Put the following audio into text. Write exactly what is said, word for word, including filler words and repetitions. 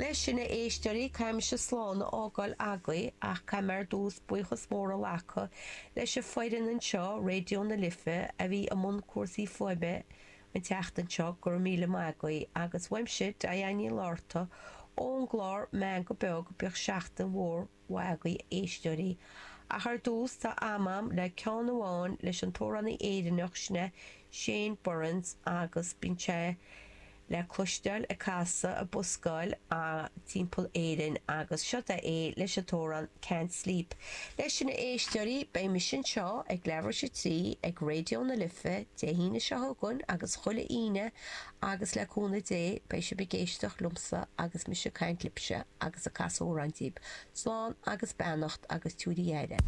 Leis sin, a éisteoirí, caithfidh mise slán a fhágáil agaibh ach caithfidh mé ar dtús buíochas mór a ghlacadh leis an foireann anseo, Raidió na Life, a bhí i mbun cúrsaí fuaime an tseachtain seo, go raibh míle maith agaibh. Agus uaimse, Diane Ní Fhlatharta, ón gclár Meangadh Beag, bíodh seachtain mhór mhaith agaibh, a éisteoirí. Ach ar dtús, tá am a'm le ceann amháin leis an t-amhránaí Éireannach sin é Shane Burns agus bíonn sé le cloisteáil ag casadh ag buscáil timpeall Éirinn agus seo é leis an t-amhrán Can't Sleep. Leis sin, a éisteoirí, beidh mise anseo ag leathuair tar éis a trí ag Raidió na Life Dé hAoine seo chugainn agus chuile Aoine agus le cúnamh Dé beidh sibh ag éisteacht liomsa agus mise ag caint libhse agus ag casadh amhrán daoibh. Slán agus beannacht agus tabhair aire.